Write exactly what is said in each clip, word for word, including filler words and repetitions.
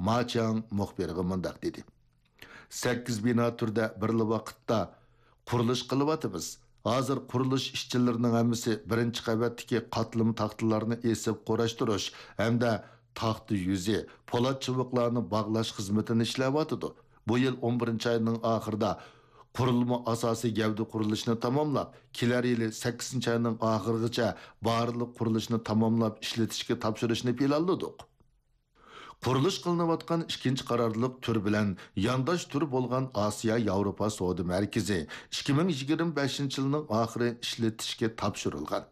ما چياڭ مۇخبىرغا مۇنداق دېدى: سەككىز بىنا تۈرىدە بىرلا ۋاقىتتا قۇرۇلۇش قىلىۋاتىمىز. ھازىر قۇرۇلۇش ئىشچىلىرىنىڭ ھەممىسى بىرىنچى قەۋەتتىكى قاتلىما تاختىلارنى ئېسىپ قۇراشتۇرۇش ھەمدە تاختا يۈزى، پولات چىۋىقلارنى باغلاش خىزمىتىنى ئىشلەۋاتىدۇ. بۇ يىل ئون بىرىنچى ئاينىڭ ئاخىرىدا قۇرۇلما ئاساسىي گەۋدە قۇرۇلۇشىنى تاماملاپ، كېلەر يىلى سەككىزىنچى ئاينىڭ ئاخىرىغىچە بارلىق قۇرۇلۇشنى تاماملاپ ئىشلىتىشكە تاپشۇرۇشنى پىلانلىدۇق. قۇرۇلۇش قىلىنىۋاتقان ئىككىنچى قارارلىق تۈر بىلەن يانداش تۈر بولغان ئاسىيا ياۋروپا سودا مەركىزى ئىككى مىڭ يىگىرمە بەشىنچى يىلنىڭ ئاخىرى ئىشلىتىشكە تاپشۇرۇلغان.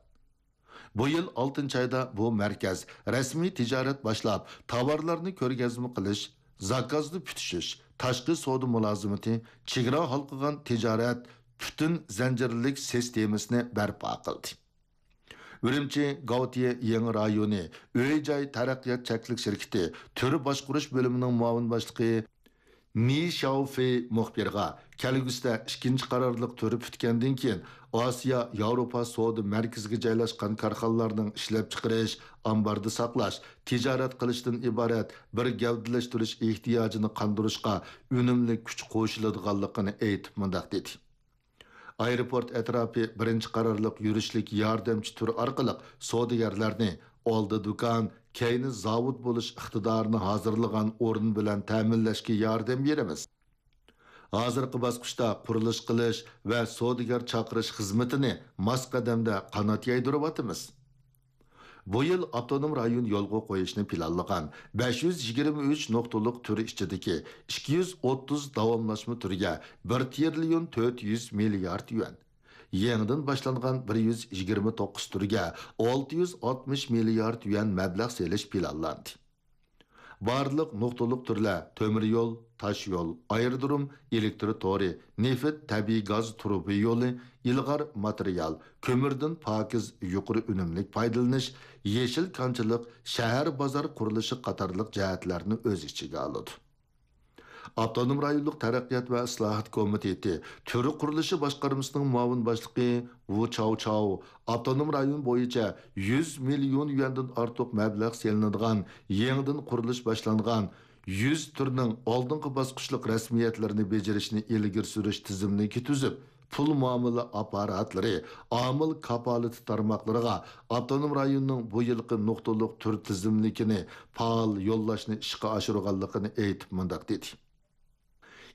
بۇ يىل ئالتىنچى ئايدا بۇ مەركەز رەسمىي تىجارەت باشلاپ، تاۋارلارنى كۆرگەزمە قىلىش، زاكازنى پۈتۈشۈش، تاشقى سودا مۇلازىمىتى، چېگرا ھالقىغان تىجارەت پۈتۈن زەنجىرلىك سىستېمىسىنى بەرپا قىلدى. ئۈرۈمچى گاۋتىيە يېڭى رايونى ئۆي-جاي تەرەققىيات چەكلىك شىركىتى تۈر باشقۇرۇش بۆلۈمىنىڭ مۇئاۋىن باشلىقى نى شياۋفېي مۇخبىرغا، كەلگۈسىدە ئىككىنچى قارارلىق تۈر پۈتكەندىن كېيىن، ئاسىيا ياۋروپا سودا مەركىزىگە جايلاشقان كارخانىلارنىڭ ئىشلەپچىقىرىش، ئامباردا ساقلاش، تىجارەت قىلىشتىن ئىبارەت بىر گەۋدىلەشتۈرۈش ئېھتىياجىنى قاندۇرۇشقا ئۈنۈملۈك كۈچ قوشۇلىدىغانلىقىنى ئېيتىپ مۇنداق دېدى: ئايروپورت ئەتراپى بىرىنچى قارارلىق يۈرۈشلۈك ياردەمچى تۈر ئارقىلىق سودىگەرلەرنى ئالدى دۇكان، كەينى زاۋۇت بولۇش ئىقتىدارىنى ھازىرلىغان ئورۇن بىلەن تەمىنلەشكە ياردەم بېرىمىز. ھازىرقى باسقۇچتا قۇرۇلۇش قىلىش ۋە سودىگەر چاقىرىش خىزمىتىنى ماس قەدەمدە قانات يايدۇرۇۋاتىمىز. بۇ يىل ئاپتونوم رايون يولغا قويۇشنى پىلانلىغان بەش يۈز يىگىرمە ئۈچ نۇقتىلىق تۈر ئىچىدىكى ئىككى يۈز ئوتتۇز داۋاملاشما تۈرگە بىر تىرىليون تۆت يۈز مىليارد يۈەن، يېڭىدىن باشلانغان بىر يۈز يىگىرمە توققۇز تۈرگە ئالتە يۈز ئاتمىش مىليارد يۈەن مەبلەغ سېلىش پىلانلاندى. بارلىق نۇقتىلىق تۈرلەر تۆمۈر يول، تاش يول، ئايرودروم، ئېلېكتر تورى، نېفىت، تەبىئىي گاز تۇرۇبا يولى، ئىلغار ماتېرىيال، كۆمۈردىن پاكىز، يۇقىرى ئۈنۈملۈك پايدىلىنىش، يېشىل كانچىلىق، شەھەر بازار قۇرۇلۇشى قاتارلىق جەھەتلەرنى ئۆز ئىچىگە ئالىدۇ. ئاپتونوم رايونلۇق تەرەققىيات ۋە ئىسلاھات كومىتېتى تۈر قۇرۇلۇشى باشقارمىسىنىڭ مۇئاۋىن باشلىقى ۋۇ چاۋچاۋ ئاپتونوم رايون بويىچە يۈز مىليون يۈەندىن ئارتۇق مەبلەغ سېلىنىدىغان يېڭىدىن قۇرۇلۇش باشلانغان يۈز تۈرنىڭ ئالدىنقى باسقۇچلۇق رەسمىيەتلىرىنى بېجىرىشنى ئىلگىرى سۈرۈش تىزىملىكى تۈزۈپ، پۇل مۇئامىلە ئاپپاراتلىرى، ئامىل كاپالىتى تارماقلىرىغا ئاپتونوم رايوننىڭ بۇ يىلقى نۇقتىلىق تۈر تىزىملىكىنى پائال يوللاشنى ئىشقا ئاشۇرغانلىقىنى ئېيتىپ مۇنداق دېدى: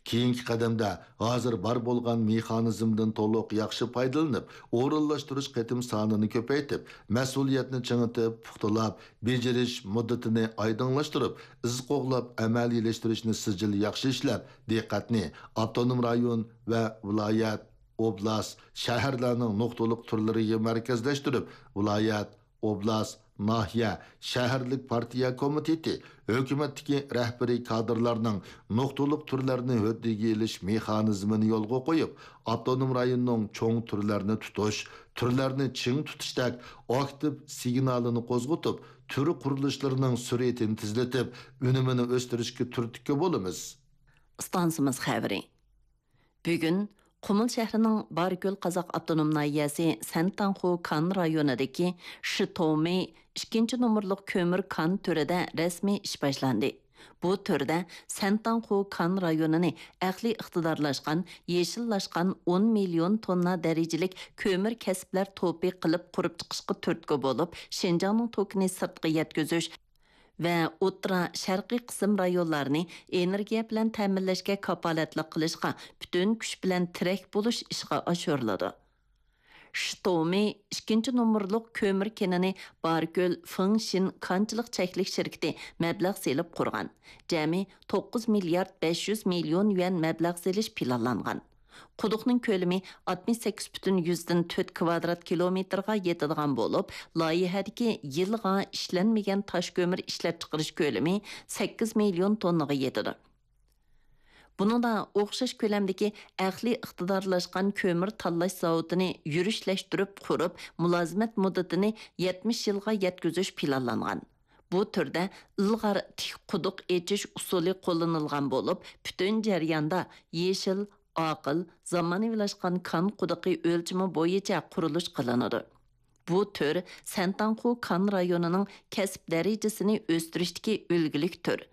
كېيىنكى قەدەمدە ھازىر بار بولغان مېخانىزمدىن تولۇق ياخشى پايدىلىنىپ، ئورۇنلاشتۇرۇش قېتىم سانىنى كۆپەيتىپ، مەسئۇلىيەتنى چىڭىتىپ، پۇختىلاپ، بېجىرىش مۇددىتىنى ئايدىڭلاشتۇرۇپ، ئىز قوغلاپ ئەمەلىيلەشتۈرۈشنى سىجىل ياخشى ئىشلەپ، دىققەتنى ئاپتونوم رايون ۋە ۋىلايەت، ئوبلاست، شەھەرلەرنىڭ نۇقتىلىق تۈرلىرىگە مەركەزلەشتۈرۈپ، ۋىلايەت، ئوبلاست، ناھىيە، شەھەرلىك پارتىيە كومىتېتى، ھۆكۈمەتتىكى رەھبىرىي كادىرلارنىڭ نۇقتىلىق تۈرلەرنى ھۆددىگە ئېلىش مېخانىزمىنى يولغا قويۇپ، ئاپتونوم رايوننىڭ چوڭ تۈرلەرنى تۇتۇش، تۈرلەرنى چىڭ تۇتۇشتەك ئاكتىپ سىگنالىنى قوزغىتىپ، تۈر قۇرۇلۇشلىرىنىڭ سۈرئىتىنى تېزلىتىپ، ئۈنۈمىنى ئۆستۈرۈشكە تۈرتكە بولىمىز. ئىستانسىمىز خەۋىرى. بۈگۈن قۇمۇل شەھىرىنىڭ باركۆل قازاق ئاپتونوم ناھىيەسى سەنتاڭخۇ كان رايونىدىكى شىتومى ئىككىنچى نومۇرلۇق كۆمۈر كان تۈرىدە رەسمىي ئىش باشلاندى. بۇ تۈردە سەنتاڭخۇ كان رايونىنى ئەقلىي ئىقتىدارلاشقان، يېشىللاشقان ئون مىليون توننا دەرىجىلىك كۆمۈر كەسىپلەر توپى قىلىپ قۇرۇپ چىقىشقا تۈرتكە بولۇپ، شىنجاڭنىڭ توكىنى سىرتقا يەتكۈزۈش، ۋە ئوتتۇرا شەرقىي قىسىم رايونلارنى ئېنېرگىيە بىلەن تەمىنلەشكە كاپالەتلىك قىلىشقا پۈتۈن كۈچ بىلەن تىرەك بولۇش ئىشقا ئاشۇرۇلىدۇ. شىتومى ئىككىنچى نومۇرلۇق كۆمۈر كېنىنى باركۆل فېڭشىن كانچىلىق چەكلىك شىركىتى مەبلەغ سېلىپ قۇرغان. جەمئىي توققۇز مىليارد بەش يۈز مىليون يۈەن مەبلەغ سېلىش پىلانلانغان. قۇدۇقنىڭ كۆلىمى ئاتمىش سەككىز پۈتۈن يۈزدىن تۆت كىۋادرات كىلومېتىرغا يېتىدىغان بولۇپ، لايىھەدىكى يىلغا ئىشلەنمىگەن تاش كۆمۈر ئىشلەپچىقىرىش كۆلىمى سەككىز مىليون توننىغا يېتىدۇ. بۇنىڭدا ئوخشاش كۆلەمدىكى ئەقلىي ئىقتىدارلاشقان كۆمۈر تاللاش زاۋۇتىنى يۈرۈشلەشتۈرۈپ قۇرۇپ، مۇلازىمەت مۇددىتىنى يەتمىش يىلغا يەتكۈزۈش پىلانلانغان. بۇ تۈردە ئىلغار تىك قۇدۇق ئېچىش ئۇسۇلى قوللىنىلغان بولۇپ، پۈتۈن جەرياندا يېشىل، ئاقىل، زامانىۋىلاشقان كان قۇدۇقى ئۆلچىمى بويىچە قۇرۇلۇش قىلىنىدۇ. بۇ تۈر سەنتاڭخۇ كان رايونىنىڭ كەسىپ دەرىجىسىنى ئۆستۈرۈشتىكى ئۈلگىلىك تۈر.